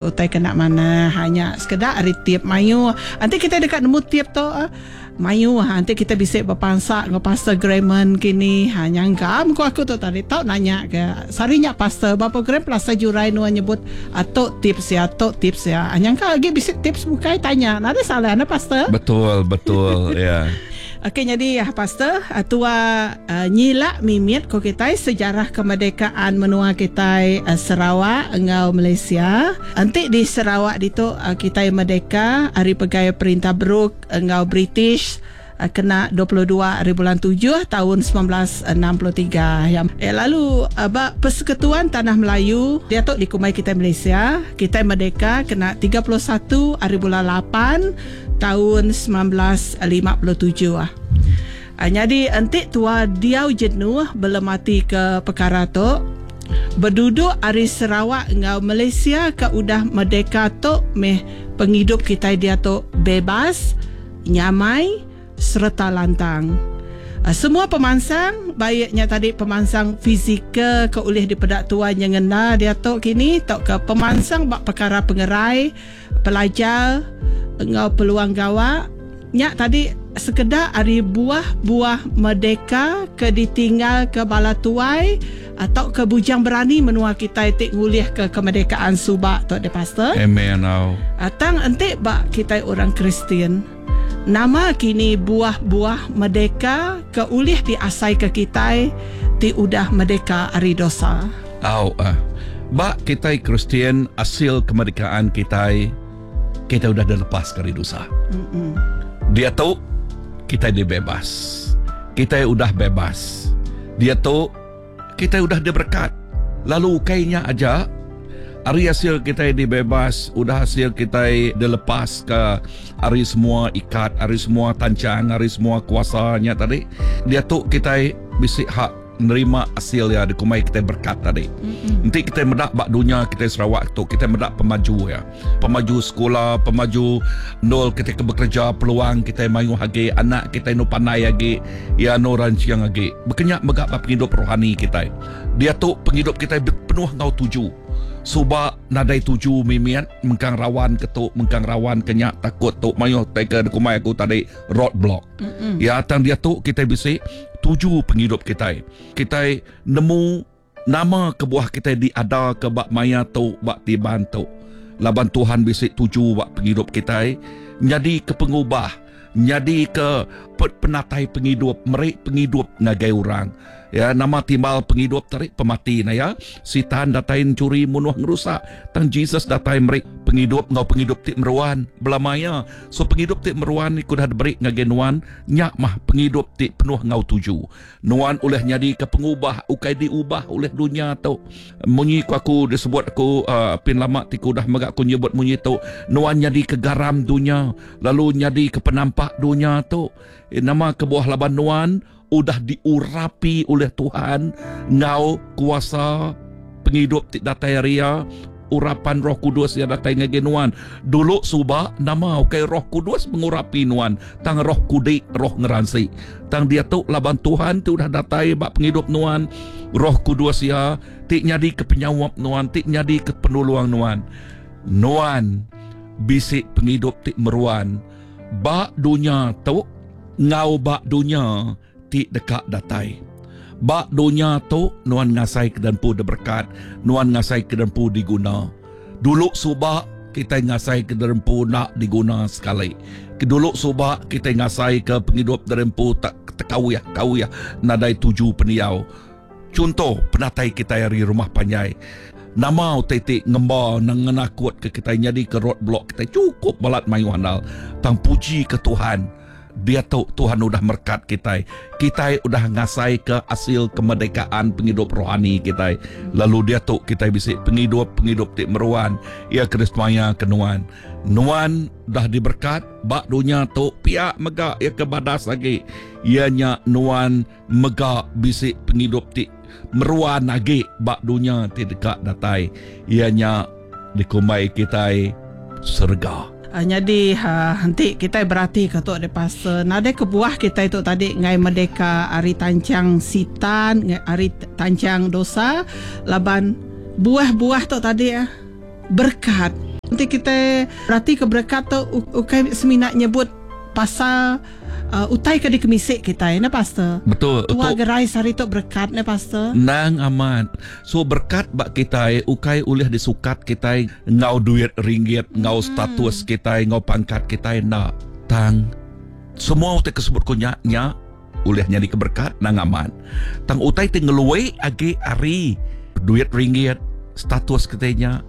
Utai kena manah nya sekeda ari tip mayuh. Enti kitai deka nemu tip tu mayuh enti kitai bisi bepansa enggau Pastor Grahman kini ha nyangka mengku aku tu tadi tau nanya ke sehari nya pastor ba program Pelasar Jurai nuan nyebut tu tips iya tu tips iya. Nyangka agi bisi tips bukai tanya nadai salah ne pastor. Betul betul iya. Okey nyadi pastor tua nyila mimit ko kitai sejarah kemerdekaan menua kitai Sarawak enggau Malaysia. Enti di Sarawak ditu kitai merdeka ari pegai perintah Brooke enggau British kena 22 ari bulan tujuh taun 1963. Lalu ba Persekutuan Tanah Melayu diatu dikumbai kitai Malaysia, kitai merdeka kena 31 ari bulan lapan taun 1957. Nyadi enti tua diau jenuh belematika pekara tu, beduduk ari Sarawak enggau Malaysia ke udah merdeka tu meh pengidup kitai diatu bebas, nyamai sereta lantang. Semua pemansang, baik nya tadi pemansang fizikal ke ulih dipeda tua nyengenda diatu kini tauka pemansang ba pekara pengerai, Pelajar enggau peluang gawa nya tadi sekeda ari buah-buah merdeka ke ditinggalka bala tuai tauka bujang berani menua kitai ti ngulihka kemerdekaan suba tu deh pastor. Amen au. Tang enti ba kitai orang Kristian, nama kini buah-buah merdeka ke ulih diasaika kitai ti udah merdeka ari dosa? Au. Ba kitai Kristian asil kemerdekaan kitai, kitai udah dilepaska ari dosa. Diatu kitai dibebas. Kitai udah bebas. Diatu kitai udah diberekat. Lalu ukai nya aja, ari asil kitai dibebas, udah asil kitai dilepaska ari semua ikat, ari semua tanchang, ari semua kuasa nya tadi, diatu kitai bisi hak nerima asil iya dikumbai kitai berkat tadi. Enti kitai meda ba dunya kitai Sarawak tu, kitai meda pemaju iya. Pemaju sekula, pemaju endul kitai ke bekereja, peluang kitai mayuh agi, anak kitai enu pandai agi, iya enu ranching agi. Baka nya mega ba pengidup rohani kitai. Diatu pengidup kitai penuh enggau tuju. Suba nadai tuju mimit, mengkang rawan ke tu, mengkang rawan ke nya, takut tu mayuh tai ke dikumbai aku tadi road block. Iya tang diatu kitai bisi tuju pengidup kitai. Kitai nemu nama kebuah kitai diadaka ba maya tu ba tiban tu. Laban Tuhan bisi tuju ba pengidup kitai nyadika pengubah, nyadika penatai pengidup, meri pengidup ngagai orang. Ya, nama timbal pengidup tadi pemati nah ya. Sitan datai mencuri, munuh, ngerusak. Tang Jesus datai meri pengidup enggau pengidup ti meruan belama iya. So pengidup ti meruan ni ke udah diberi ngagai nuan, nya mah pengidup ti penuh enggau tuju. Nuan ulih nyadika pengubah ukai diubah ulih dunya tu. Munyi ku aku disebut aku uh, pin lama ti ku udah mega aku nyebut munyi tu, nuan nyadika garam dunya lalu nyadika penampak dunya tu. Eh, nama kebuah laban nuan udah diurapi ulih Tuhan enggau kuasa pengidup ti datai ari Iya, urapan Roh Kudus iya datai ngagai nuan. Dulu suba nama ukai Roh Kudus mengurapi nuan, tang roh kudik, roh ngeransi. Tang diatu laban Tuhan ti udah datai ba pengidup nuan, Roh Kudus iya ti nyadi ke penyaup nuan, ti nyadi ke penulung nuan. Nuan bisi pengidup ti meruan ba dunya tu enggau ba dunya ti deka datai. Ba dunya tu nuan ngasaika dempu diberekat, nuan ngasaika dempu diguna. Dulu suba kitai ngasaika dempu enda diguna sekali. Dulu suba kitai ngasaika pengidup dempu tak tekawih-kawih nadai tuju pendiau. Chunto, penatai kitai ari rumah panjai. Nama utai ti ngemba ngenakutka kitai nyadika roadblock kitai chukup balat mayuh andal. Tang puji ke Tuhan, diatu Tuhan udah merekat kitai. Kitai udah ngasaika asil kemerdekaan pengidup rohani kitai. Lalu diatu kitai bisi pengidup, pengidup ti meruan. Iya ke disemaya ke nuan. Nuan udah diberekat ba dunya tu pia mega iya ke badas agi iya nya nuan mega bisi pengidup ti meruan agi ba dunya ti deka datai, iya nya dikumbai kitai serega. Nyadi enti kitai beratika tu deh pastor, nadai kebuah kitai tu tadi enggai merdeka ari tanchang sitan, ari tanchang dosa laban buah-buah tu tadi berkat. Enti kitai berati ke berekat tu ukai semina nyebut pasal utai ke dikemisi kitai neh pastor. Betul. Tua gerai sehari tu berekat neh pastor. Endang amat. So berekat ba kitai ukai ulih disukat kitai enggau duit ringgit enggau status kitai enggau pangkat kitai enda. Tang semua utai ke sebut ku nya nya ulih nyadika berekat endang amat. Tang utai ti ngelui agi ari duit ringgit, status kitai nya,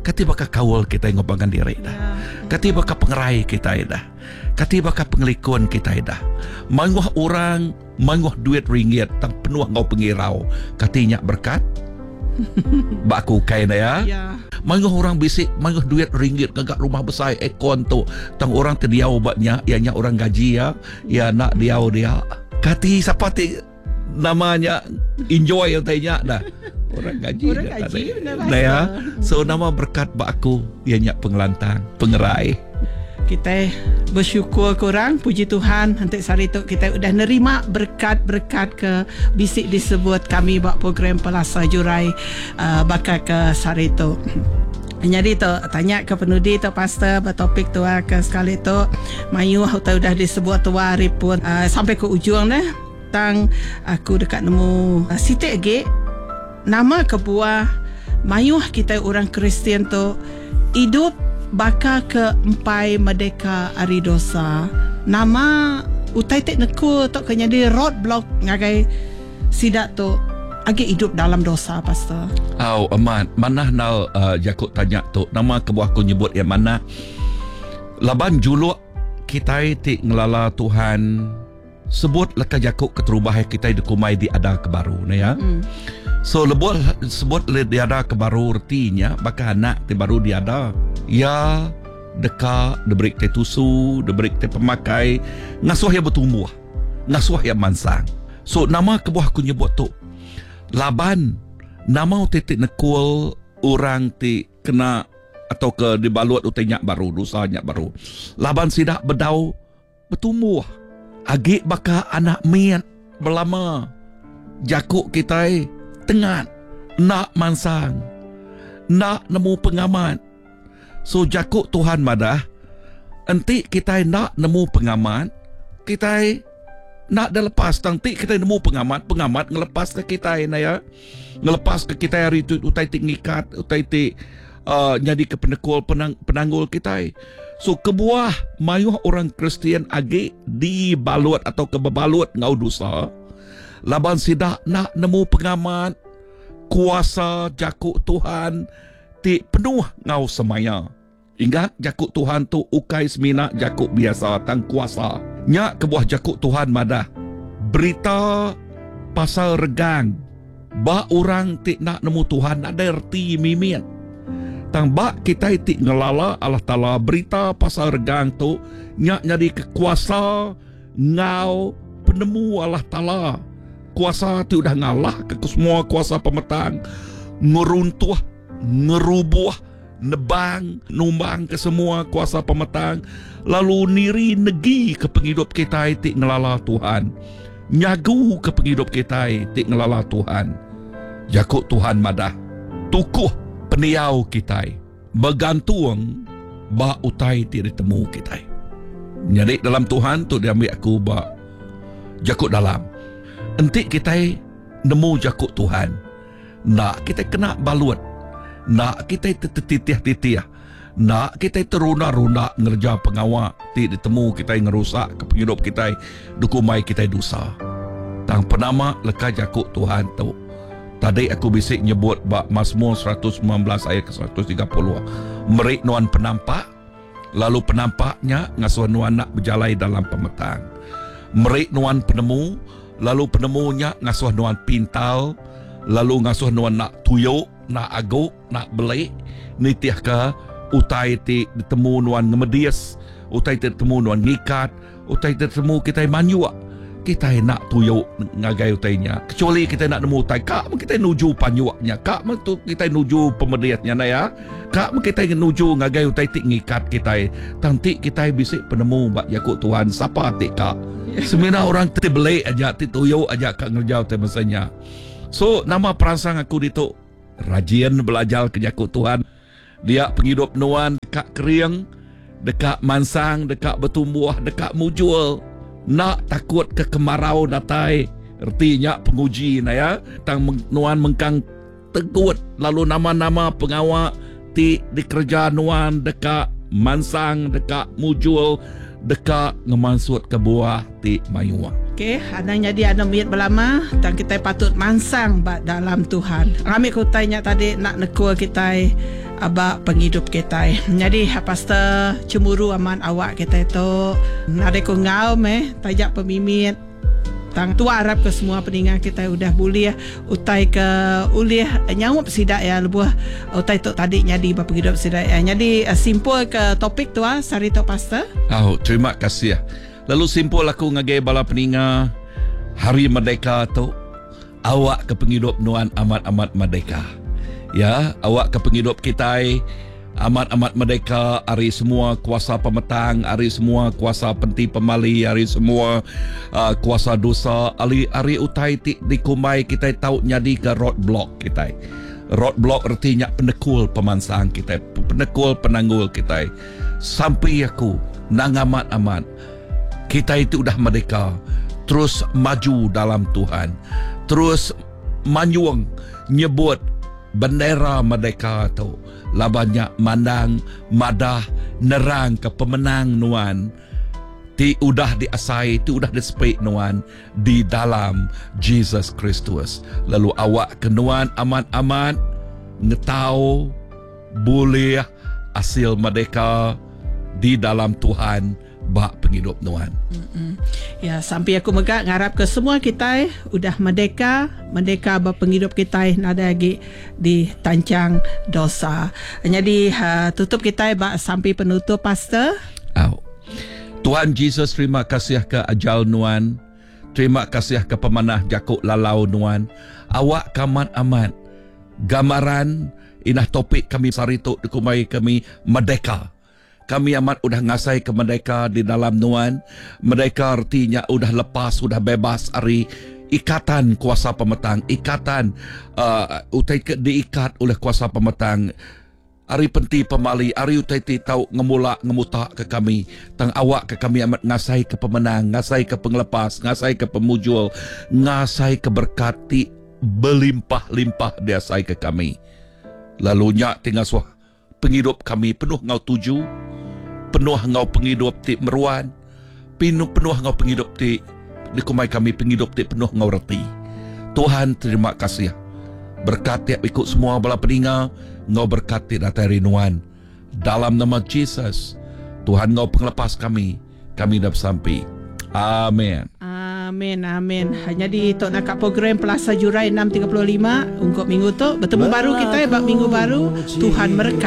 kati baka kaul kitai enggau pangan diri dah. Kati baka pengerai kitai dah. Kati baka pengelikun kitai dah. Mayuh orang mayuh duit ringgit tang penuh enggau pengirau. Kati nya berekat? Ba aku ukai enda ya. Mayuh orang bisi mayuh duit ringgit ngaga rumah besai aircon tu tang orang ti diau ba nya iya nya orang gaji iya. Iya enda diau dia. Kati sapa ti nama nya enjoy utai nya dah. Orang gaji Orang gaji benar lah. Ya. So nama berkat ba aku iya nya pengelantang, pengerai. Kitai bersyukur ke orang, puji Tuhan enti sehari tu kitai udah nerima berkat-berkat ke bisi disebut kami ba program Pelasa Jurai uh, baka ke sehari tu. Nyadi tu tanya ke penudi tu pastor ba topik tua ke sekali tu mayuh utai udah disebut tua ari pun uh, sampai ke ujung neh tang aku deka nemu uh, siti agi nama kebuah mayuh kitai orang Kristian tu idup baka ke empai merdeka ari dosa nama utai ti nekul tu ke nyadi roadblock ngagai Sida tu agi idup dalam dosa, Pastor. Au, amat. Manah enggau uh, jaku tanya tu. Nama kebuah aku nyebut iya manah? Laban juluk kitai ti ngelala Tuhan sebut leka jaku keterubah kitai dikumbai diada ke baru ne ya. Mm. So lebuh sebut diada ke baru reti nya baka anak ti baru diada. Ya deka diberi kitai tusu, diberi kitai pemakai, ngasuh iya betumbuh. Ngasuh iya mansang. So nama kebuah aku nyebut tu? Laban nama utai ti nekul orang ti kena atau ke dibalut utai nya baru, dosa nya baru. Laban sida bedau betumbuh. Agi baka anak mit belama. Jaku kitai tengat enda mansang. Enda nemu pengamat. So jaku Tuhan madah, enti kitai enda nemu pengamat, kitai enda da lepas. Tang enti kitai nemu pengamat, pengamat ngelepaska kitai enda ya. Ngelepaska kitai ari tu utai ti ngikat, utai ti uh, nyadika penekul penang, penanggul kitai. So kebuah mayuh orang Kristian agi dibalut atau ke bebalut enggau dosa laban sida enda nemu pengamat kuasa jaku Tuhan ti penuh enggau semaya. Ingat, jaku Tuhan tu ukai semina jaku biasa tang kuasa. Nya kebuah jaku Tuhan madah, Berita pasal regang ba orang ti enda nemu Tuhan nadai reti mimit. Tang ba kitai ti ngelala Allah Taala, berita pasal regang tu nya nyadika kuasa enggau penemu Allah Taala. Kuasa ti udah ngalahka kesemua kuasa pemetang, ngeruntuh, ngerubuh, nebang, numbangka semua kuasa pemetang, lalu niri negika pengidup kitai ti ngelala Tuhan, nyaguka pengidup kitai ti ngelala Tuhan. Jaku Tuhan madah, tukuh pendiau kitai begantung ba utai ti ditemu kitai. Nyadi dalam Tuhan tu diambi aku ba jaku dalam. Enti kitai nemu jaku Tuhan, enda kitai kena balut, enda kitai tetitih-titih, enda kitai terunda-runda ngereja pengawa ti ditemu kitai ngerusakka pengidup kitai dikumbai kitai dosa. Tang penama leka jaku Tuhan tu. Tadi aku bisi nyebut ba Masmur 119 ayat ke 130, meri nuan penampak, lalu penampak nya ngasuh nuan enda bejalai dalam pemetang. Meri nuan penemu, lalu penemu nya ngasuh nuan pintar, lalu ngasuh nuan enda tuyu, enda agu, enda beli, nitihka utai ti ditemu nuan ngemedis, utai ti ditemu nuan ngikat, Utai ti ditemu kitai manjuk, kitai enda tuyu ngagai utai nya. Kecuali kitai enda nemu utai, ka meh kitai nuju panjuk nya, ka meh tu kitai nuju pemedis nya ndai ya. Ka meh kitai nuju ngagai utai ti ngikat kitai. Tang ti kitai bisi penemu ba jaku Tuhan, sapa ti ka? Semina orang ti beli aja, ti tuyu aja ka ngereja utai masa nya. So nama peransang aku ditu? Rajin belajar ke jaku Tuhan. Dia pengidup nuan. Deka kering, deka mansang, deka betumbuh, deka mujur. Enda takut ke kemarau datai, reti nya penguji enda ya. Tang nuan mengkang tegut lalu nama-nama pengawa ti dikereja nuan deka mansang, deka mujur, deka ngemansutka buah ti mayuh. Okey, anang nyadi anu mit belama tang kitai patut mansang ba dalam Tuhan. Ngambi ke utai nya tadi enda nekul kitai ba pengidup kitai. Nyadi pastor chemburu amat awak kitai tu. Nadai ku enggau meh taja pemimit tang tua arap ke semua peninga kitai udah bulih utai ke ulih nyaup sida iya lebuh utai tu tadi nyadi ba pengidup sida iya. Nyadi simpul ke topik tua sehari tu pastor. Au, terima kasih. Lalu simpul aku ngagai bala peninga Hari Merdeka tu, awak ke pengidup nuan amat-amat merdeka. Ya, awak ke pengidup kitai amat-amat merdeka ari semua kuasa pemetang, ari semua kuasa penti pemali, ari semua uh, kuasa dosa, ari ari utai ti dikumbai kitai tau nyadika roadblock kitai. Roadblock reti nya penekul pemansang kitai, penekul penanggul kitai. Sampi aku nang amat-amat kitai ti udah merdeka terus maju dalam Tuhan, terus manyung nyebut bendera merdeka tu laban nya mandang madah nerangka pemenang nuan ti udah diasai ti udah disepi nuan di dalam Jesus Kristus. Lalu awakka nuan amat-amat ngetau Bulih asil merdeka di dalam Tuhan ba pengidup nuan. Ya, sampi aku mega ngarapka semua kitai udah merdeka, merdeka ba pengidup kitai nadai agi ditanchang dosa. Nyadi tutup kitai ba sampi penutup pastor. Au. Tuhan Jesus terima kasih ke ajal nuan. Terima kasih ke pemanah jaku lalau nuan. Awak ka amat-amat gambaran Inah topik kami sehari tu dikumbai kami merdeka. Kami amat udah ngasaika merdeka di dalam nuan. Merdeka reti nya udah lepas, udah bebas ari ikatan kuasa pemetang, ikatan uhh utai ke diikat oleh kuasa pemetang ari penti pemali, ari utai ti tau ngemula ngemuta ke kami. Tang awakka kami amat ngasaika pemenang, ngasaika pengelepas, ngasaika pemujur, ngasaika berekat ti Belimpah-limpah diasaika kami, lalu nya ti ngasuh pengidup kami penuh enggau tuju, penuh enggau pengidup ti meruan, penuh enggau pengidup ti dikumbai kami pengidup ti penuh enggau reti. Tuhan terima kasih berekat tiap iku semua bala peninga enggau berekat ti datai ari Nuan. Dalam nama Jesus, Tuhan enggau pengelepas kami, kami dah besampi. Amen. Amin amin. Nyadi tu naka program Pelasa Jurai 6.35 ungkup minggu tu. Betemu baru kitai ba minggu baru. Tuhan merekat.